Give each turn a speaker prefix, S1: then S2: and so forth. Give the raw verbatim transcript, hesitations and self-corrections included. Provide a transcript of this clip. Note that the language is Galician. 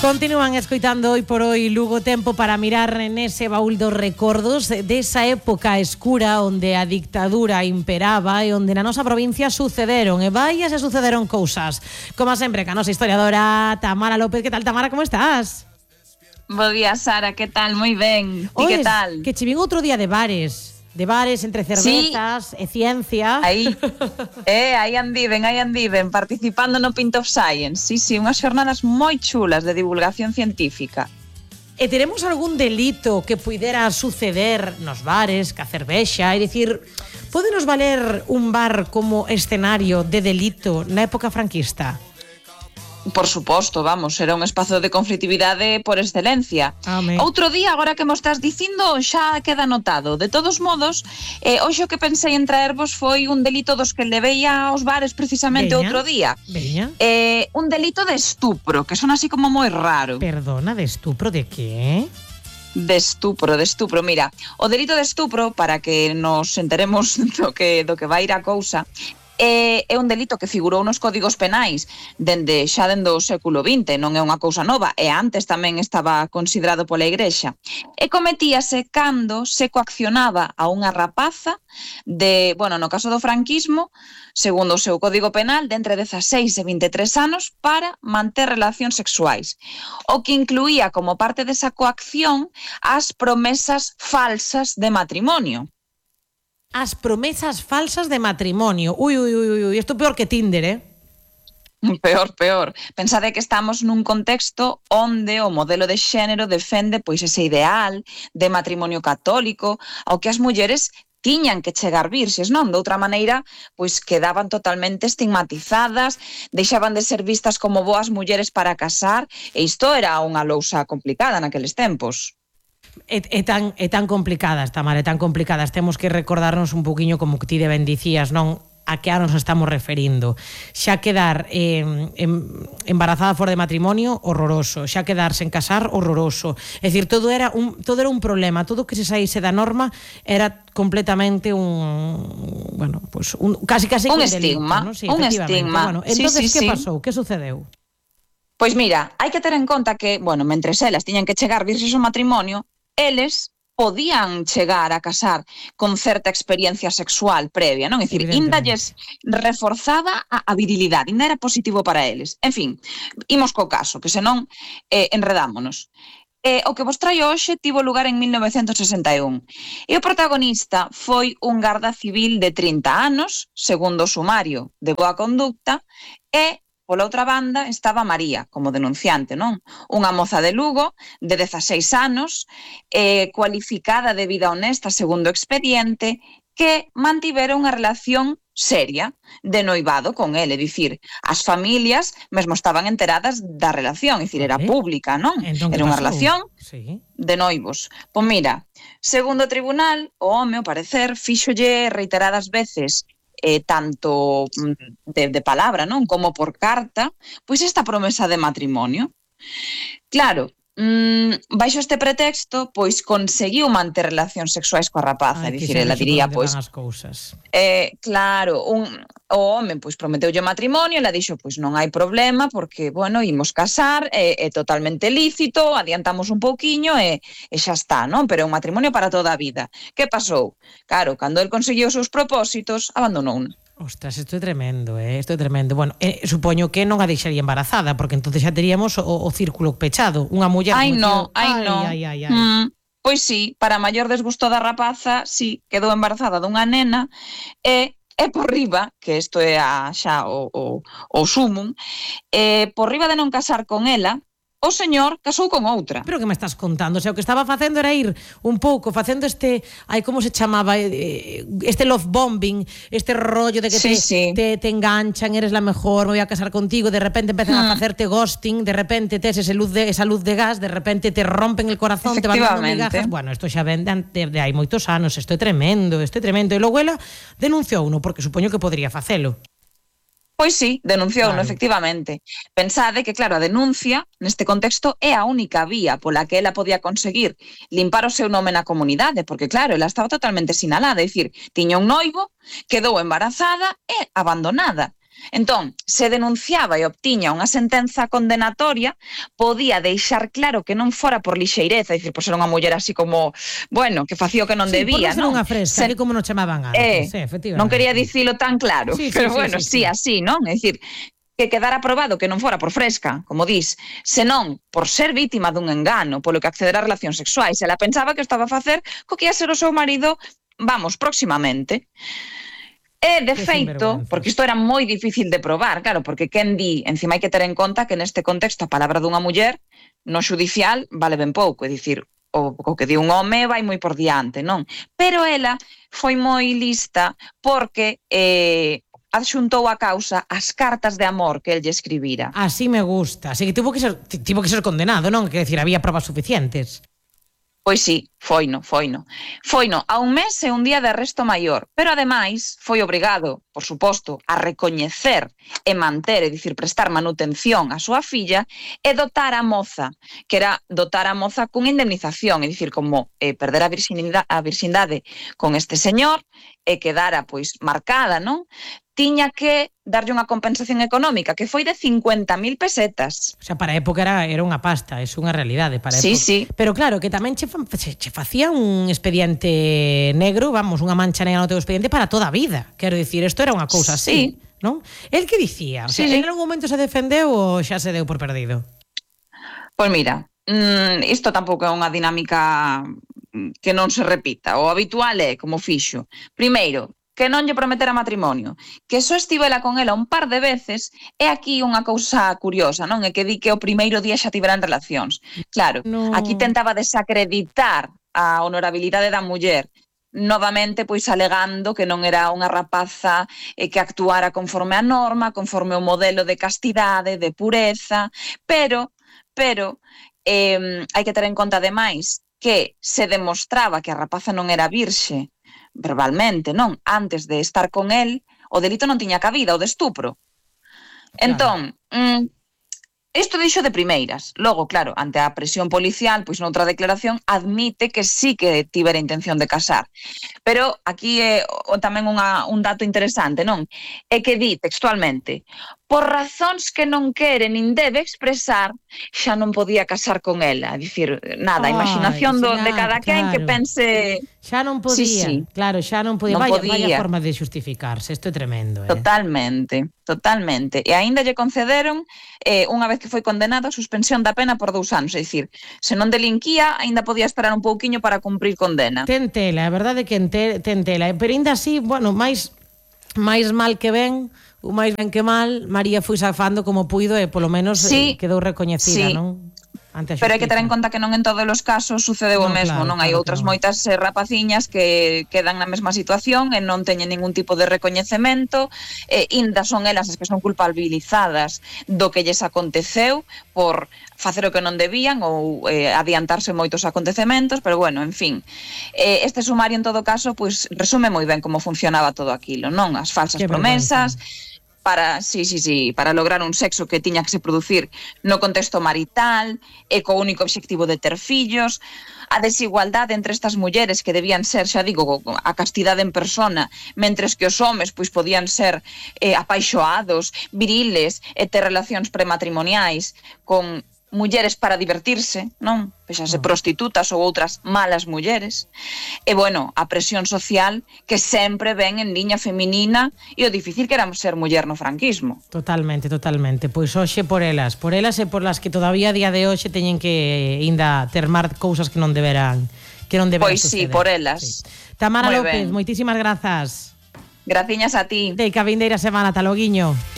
S1: Continúan escoitando hoy por hoy Lugo, tempo para mirar nese baúl dos recordos desa época escura onde a dictadura imperaba e onde na nosa provincia sucederon e vaias e sucederon cousas. Como sempre, ca nosa historiadora Tamara López. Que tal, Tamara, como estás?
S2: Bo día, Sara, que tal? Moi ben. Ti que tal?
S1: Que che vin outro día de bares. De bares, entre cervezas, sí. E ciencia.
S2: Aí, eh, aí andiven, aí andiven, participando no Pint of Science. Sí, sí, unhas xornadas moi chulas de divulgación científica.
S1: E teremos algún delito que puidera suceder nos bares, ca cervexa? É dicir, pódenos valer un bar como escenario de delito na época franquista?
S2: Por suposto, vamos, era un espazo de conflitividade por excelencia.
S1: Amén.
S2: Outro día, agora que mo estás dicindo, xa queda anotado. De todos modos, eh, hoxe o que pensei en traervos foi un delito dos que levei aos bares precisamente
S1: Veña,
S2: outro día.
S1: Veña.
S2: Eh, un delito de estupro, que son así como moi raro.
S1: Perdona, de estupro de que?
S2: De estupro, de estupro. Mira, o delito de estupro, para que nos enteremos do que, do que vai ir a cousa, É, é un delito que figurou nos códigos penais dende xa dende o século vinte, non é unha cousa nova, e antes tamén estaba considerado pola Igrexa. E cometíase cando se coaccionaba a unha rapaza de, bueno, no caso do franquismo, segundo o seu código penal, de entre dezaseis e vinte e tres anos para manter relacións sexuais, o que incluía como parte desa coacción as promesas falsas de matrimonio.
S1: As promesas falsas de matrimonio. Ui, ui, ui, ui, isto peor que Tinder, eh?
S2: Peor, peor. Pensade que estamos nun contexto onde o modelo de xénero defende pois ese ideal de matrimonio católico ao que as mulleres tiñan que chegar virxes, non? De outra maneira, pois quedaban totalmente estigmatizadas, deixaban de ser vistas como boas mulleres para casar, e isto era unha lousa complicada naqueles tempos.
S1: É, é, tan, é tan complicadas, Tamara, é tan complicadas. Temos que recordarnos un poquinho como que ti de ben dicías, non? A que anos estamos referindo. Xa quedar eh, embarazada fora de matrimonio, horroroso. Xa quedar sen casar, horroroso. É dicir, todo era un, todo era un problema. Todo que se saíse da norma era completamente un... Bueno, pues un, casi casi
S2: un
S1: un
S2: estigma,
S1: delito, ¿no? Sí,
S2: un estigma.
S1: Bueno, entonces,
S2: sí, sí,
S1: que
S2: sí.
S1: pasou? Que sucedeu?
S2: Pois mira, hai que ter en conta que, bueno, mentres elas tiñan que chegar virxes ao matrimonio, eles podían chegar a casar con certa experiencia sexual previa, non? É dicir, inda lles reforzaba a, a virilidade, inda era positivo para eles. En fin, imos co caso, que senón eh, enredámonos. Eh, o que vos traio hoxe tivo lugar en mil novecentos sesenta e un. E o protagonista foi un garda civil de trinta anos, segundo o sumario de boa conducta, e pola outra banda estaba María, como denunciante, non? Unha moza de Lugo, de dezaseis anos, eh, cualificada de vida honesta segundo o expediente, que mantivera unha relación seria de noivado con ele, é dicir, as familias mesmo estaban enteradas da relación, é dicir, era pública, non?
S1: Entón,
S2: era unha
S1: pasou?
S2: relación
S1: Sí.
S2: de noivos. Pois mira, segundo o tribunal, o home, ao parecer, fíxolle reiteradas veces Eh, tanto de, de palabra, non, como por carta, pois esta promesa de matrimonio. Claro, mmm, baixo este pretexto, pois conseguiu manter relacións sexuais coa rapaza, é dicir, ela diría, pois,
S1: as cousas.
S2: Eh, claro, un, o home pois prometeulle matrimonio, ela dixo, pois non hai problema, porque, bueno, imos casar, é, é totalmente lícito, adiantamos un pouquiño e, e xa está, non? Pero é un matrimonio para toda a vida. Que pasou? Claro, cando el conseguiu os seus propósitos, abandonou.
S1: Ostras, isto é tremendo, eh? Isto é tremendo. Bueno, eh, supoño que non a deixaría embarazada, porque entonces xa teríamos o, o círculo pechado. Unha muller...
S2: Ai, no, ai, no.
S1: Ai, ai, ai, ai.
S2: Mm, pois sí, para maior desgusto da rapaza, sí, quedou embarazada dunha nena e... E por riba, que isto é a, xa o, o, o sumum, e por riba de non casar con ela, o señor casou con outra.
S1: Pero que me estás contando? O sea, o que estaba facendo era ir un pouco, facendo este, ai, como se chamaba, este love bombing, este rollo de que
S2: sí,
S1: te,
S2: sí.
S1: Te, te enganchan, eres la mejor, me voy a casar contigo, de repente empezan hmm. a facerte ghosting, de repente tes ese luz de, esa luz de gas, de repente te rompen el corazón, te van dando migajas. Bueno, isto xa ven de, de hai moitos anos, isto é tremendo, isto é tremendo. E logo ela denunciou uno, porque supoño que podría facelo.
S2: Pois sí, denunciou,
S1: claro.
S2: Efectivamente. Pensade que, claro, a denuncia, neste contexto, é a única vía pola que ela podía conseguir limpar o seu nome na comunidade, porque, claro, ela estaba totalmente sinalada, é dicir, tiña un noivo, quedou embarazada e abandonada. Entón, se denunciaba e obtiña unha sentenza condenatoria, podía deixar claro que non fora por lixeireza, é dicir, por ser unha muller así como, bueno, que facía o que non
S1: sí,
S2: debía,
S1: por non ser
S2: non?
S1: unha fresca,
S2: Se...
S1: que como nos chamaban antes,
S2: eh,
S1: sí, efectivamente.
S2: Non quería dicilo tan claro,
S1: sí, sí,
S2: pero
S1: sí,
S2: bueno,
S1: sí, sí,
S2: sí, así, non? É dicir, que quedara probado que non fora por fresca, como dis, senón por ser vítima dun engano, polo que acceder a relacións sexuais. Ela pensaba que estaba a facer co que ia ser o seu marido, vamos, próximamente. E, de feito, porque isto era moi difícil de probar, claro, porque quen di, encima hai que ter en conta que neste contexto a palabra dunha muller no xudicial vale ben pouco, é dicir, o, o que di un home vai moi por diante, non? Pero ela foi moi lista porque eh, adxuntou a causa as cartas de amor que el lle escribira.
S1: Así me gusta, así que tivo que ser, tivo que ser condenado, non? Quer decir, había probas suficientes.
S2: Pois sí, foino, foino. Foino a un mes e un día de arresto maior, pero ademais foi obrigado, por suposto, a recoñecer e manter, é dicir, prestar manutención á súa filla e dotar a moza, que era dotar a moza cunha indemnización, é dicir, como eh, perder a virxindade, a virxindade con este señor e quedara pois marcada, non? Tiña que darlle unha compensación económica que foi de cincuenta mil pesetas.
S1: O sea, para a época era, era unha pasta, é unha realidade para a
S2: sí,
S1: época.
S2: Sí,
S1: Pero claro, que tamén che, che, che facía un expediente negro, vamos, unha mancha negra no teu expediente para toda a vida. Quero dicir, isto era unha cousa así,
S2: sí.
S1: non? El que dicía? O sea,
S2: sí,
S1: en algún momento se defendeu ou xa se deu por perdido?
S2: Pois mira, mmm, isto tampouco é unha dinámica que non se repita. O habitual é, como fixo, primeiro, que non lle prometera matrimonio, que só estivela con ela un par de veces, é aquí unha cousa curiosa, non? É que di que o primeiro día xa tiveran relacións. Claro,
S1: no.
S2: Aquí tentaba desacreditar a honorabilidade da muller, novamente pois alegando que non era unha rapaza eh, que actuara conforme a norma, conforme o modelo de castidade, de pureza, pero, pero, eh, hai que ter en conta ademais que se demostraba que a rapaza non era virxe, verbalmente, non? Antes de estar con el, o delito non tiña cabida, o de estupro. Claro. Entón, mm, isto dixo de primeiras. Logo, claro, ante a presión policial, pois noutra declaración, admite que sí que tivera intención de casar. Pero aquí é o, tamén unha, un dato interesante, non? É que di textualmente: por razóns que non quere nin debe expresar, xa non podía casar con ela. É dicir, nada, a imaginación do, de cada quen que pense...
S1: Xa non podía,
S2: sí, sí.
S1: claro, xa non podía.
S2: Non
S1: vaya,
S2: podía.
S1: vaya forma de xustificarse, isto é tremendo. Eh?
S2: Totalmente, totalmente. E aínda lle concederon, eh, unha vez que foi condenado, a suspensión da pena por dous anos. É dicir, se non delinquía, aínda podía esperar un pouquiño para cumprir condena.
S1: Ten tela, a verdade é que ten tela. Pero aínda así, bueno, máis, máis mal que ben... o máis ben que mal, María foi safando como puido e polo menos
S2: sí,
S1: eh, quedou recoñecida,
S2: sí.
S1: non? Ante a
S2: Pero hai que ter en conta que non en todos os casos sucedeu no, o mesmo,
S1: claro,
S2: non hai
S1: claro,
S2: outras
S1: claro.
S2: moitas eh, rapaciñas que quedan na mesma situación e non teñen ningún tipo de recoñecemento, e inda son elas as que son culpabilizadas do que lles aconteceu por facer o que non debían ou eh, adiantarse moitos acontecementos, pero bueno, en fin. Eh, este sumario en todo caso, pois resume moi ben como funcionaba todo aquilo, non? As falsas
S1: que
S2: promesas,
S1: vergüenza.
S2: para, sí, sí, sí, para lograr un sexo que tiña que se producir no contexto marital e co único obxectivo de ter fillos, a desigualdade entre estas mulleres que debían ser, xa digo, a castidade en persona, mentres que os homes pois podían ser eh, apaixoados, viriles e ter relacións prematrimoniais con mulleres para divertirse, non? Pexase prostitutas ou outras malas mulleres. E, bueno, a presión social que sempre ven en liña feminina e o difícil que era ser muller no franquismo.
S1: Totalmente, totalmente. Pois hoxe por elas, por elas e por las que todavía a día de hoxe teñen que ainda termar cousas que non deberán, que non deberán
S2: pois
S1: suceder.
S2: sí, por elas.
S1: Sí. Tamara
S2: Muy
S1: López,
S2: ben.
S1: moitísimas grazas.
S2: Graciñas a ti.
S1: De que a vindeira semana, taloguiño.